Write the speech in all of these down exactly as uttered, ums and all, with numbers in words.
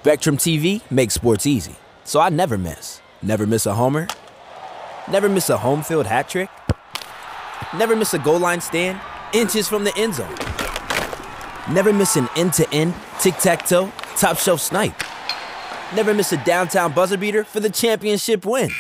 Spectrum T V makes sports easy, so I never miss. Never miss a homer. Never miss a home field hat trick. Never miss a goal line stand inches from the end zone. Never miss an end to end, tic tac toe, top shelf snipe. Never miss a downtown buzzer beater for the championship win.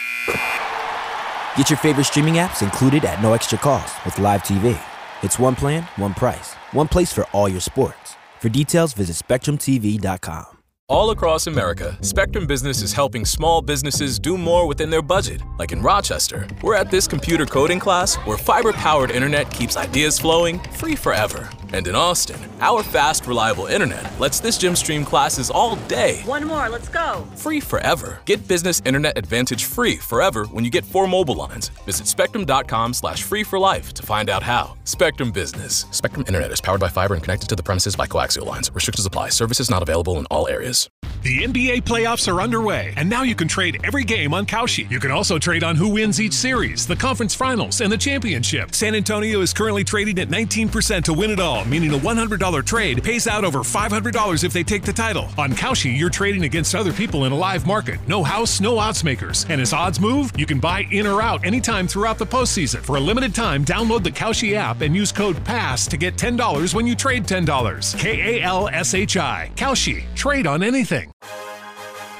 Get your favorite streaming apps included at no extra cost with Live T V. It's one plan, one price, one place for all your sports. For details, visit spectrum T V dot com. All across America, Spectrum Business is helping small businesses do more within their budget. Like in Rochester, we're at this computer coding class where fiber powered internet keeps ideas flowing free forever. And in Austin, our fast, reliable internet lets this gym stream classes all day. One more, let's go. Free forever. Get business internet advantage free forever when you get four mobile lines. Visit spectrum dot com slash free for life to find out how. Spectrum Business. Spectrum Internet is powered by fiber and connected to the premises by coaxial lines. Restrictions apply. Services not available in all areas. The N B A playoffs are underway, and now you can trade every game on Kalshi. You can also trade on who wins each series, the conference finals, and the championship. San Antonio is currently trading at nineteen percent to win it all, meaning a one hundred dollar trade pays out over five hundred dollars if they take the title. On Kalshi, you're trading against other people in a live market. No house, no odds makers. And as odds move, you can buy in or out anytime throughout the postseason. For a limited time, download the Kalshi app and use code pass to get ten dollars when you trade ten dollars. K A L S H I. Kalshi. Trade on anything.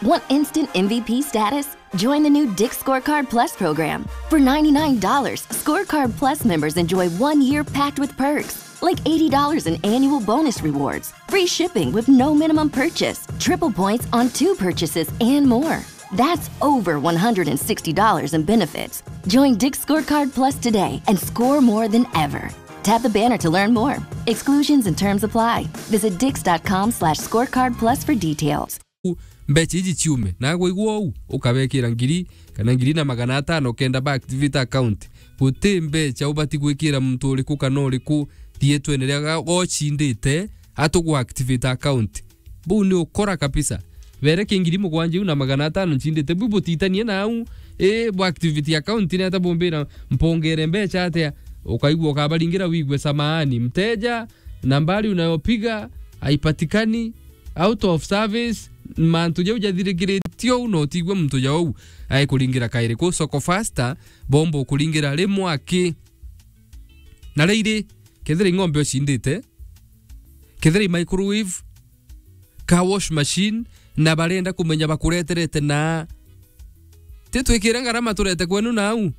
Want instant M V P status? Join the new Dick's Scorecard Plus program. For ninety-nine dollars, Scorecard Plus members enjoy one year packed with perks, like eighty dollars in annual bonus rewards, free shipping with no minimum purchase, triple points on two purchases, and more. That's over one hundred sixty dollars in benefits. Join Dick's Scorecard Plus today and score more than ever. Tap the banner to learn more. Exclusions and terms apply. Visit dicks dot com slash scorecard plus for details. Mbeca iji ciume, na gwaigua uu, ukabekira ngiri kana ngiri na magana atano kenda ba activate account. Guti mbeca ubati gwikira muntu uriku kana uriku rietwene ria ga-, gocindite, atugu activate account. Buu ni ukora kabisa. Bereke ngiri mugwanja iu na magana atano ncindite, buu butitanie nau, ii, bu activate account ni ata bumbira mpongere mbeca atia? Ukaigua ukabaringira wigue, "Samahani, mteja, nambari unayopiga haipatikani, out of service." Mantu jau jathirikiritie uu, na utiigua muntu jau aikuringira kairi ku Soko Faster, bomba ukuringira rimwe aki. Na riiri, kethira i ng'ombe ucindite, kethira i microwave, car wash machine, na barenda kumenya bakureterete na ti twikire ngarama turete kwenu nau.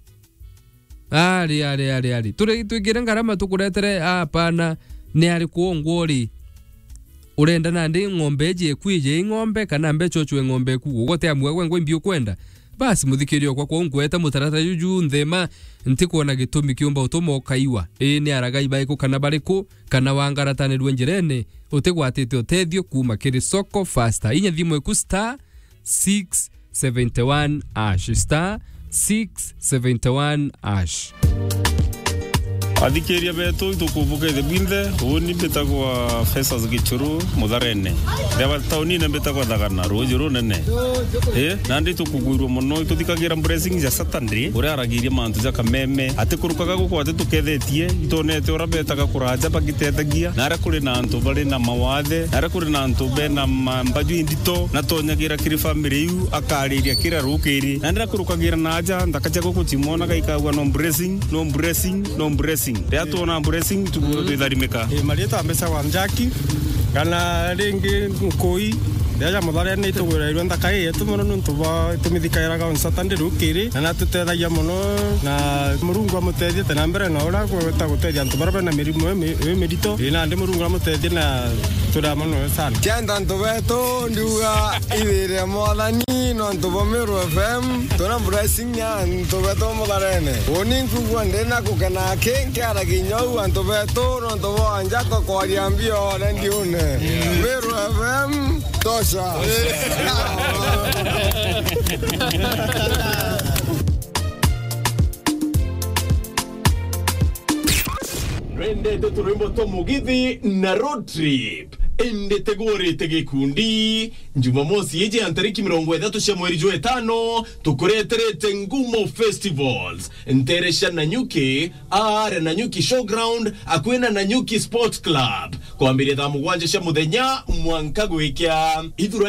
Ari, ari, ari, ari. Turi twikire ngarama tukuretere, apana, ni ari kwongwa uri. Urenda nandi ng'ombe iji iku ije i ng'ombe, kana mbeca ucwe ng'ombe iku? Ugote amwe gwe ngwe mbi ukwenda. Basi, muthikiria okwa, kwou nkweta mutaratara juju nthema, ntikwona gitumi kiumba utuma ukaiwa. Ii, ni aragai baiku kana bariku, kana wangaratanirue njirene, utigwatite utethio kuuma kiri Soko Faster. Inya thimu iku star six seventy one hash, star six seventy one hash. Athikiria betu, itukubukeithia bwinthe. Uuni mbitagwa Festus Gichuru, Mutharene. Ndeba taunine mbitagwa Thagana, ruuji runene. Ii, nandi itukugwirua mono, ituthikagira blessing ja Saturday, uria aragiria mantu ja kameme. Atikurukaga guku atitukethetie, itonete uria betaga kuraja bagiteethagia, na aria kuri na antu bari na mawathe, na aria kuri na antu bena ma-, mbaju indito, na tonyagira kiri family iu, akariria kira rukiri. Na ndirakurukagira na aja, nthaka cia guku cimwonaga ikagua no blessing, no blessing, no blessing. Riria twona blessing, tukwirwo twitharimika. Ii, marietwa mbeca wa Njaki, kana ringi Nkui, riria ja Mutharene itugwirairwe nthaka ii yetu mono niuntu bwa tumithikairaga on Saturday rukiri, na natutethagia mono, na Murungu amutethie te na mbere na uria gwita gutethia antu baria bena mirimu ii mi-, ii mirito. Ii, nandi Murungu amutethie na turia mono sana. Kenda antu betu ndiuga ithire Mwathani nontu bwa Meru F M, twina blessing ya antu betu Mutharene. Uuni nkugua ndina gukena aki nkiaragia inya uu antu betu nontu bwa njato kwaria mbio rediune. Meru F M, tosha. Nwendete turwimbo twa mugithi na road trip? Indi tegurite gikundi. Jumamosi iji ya ntariki mirongo ithatu cia mweri jwa itano, tukureterete Ngumo Festivals, ntere cia Nanyuki, aare Nanyuki Showground, akui na Nanyuki Sport Club, kwambiria thaa mugwanja cia muthenya mwanka gwikia. Ithurani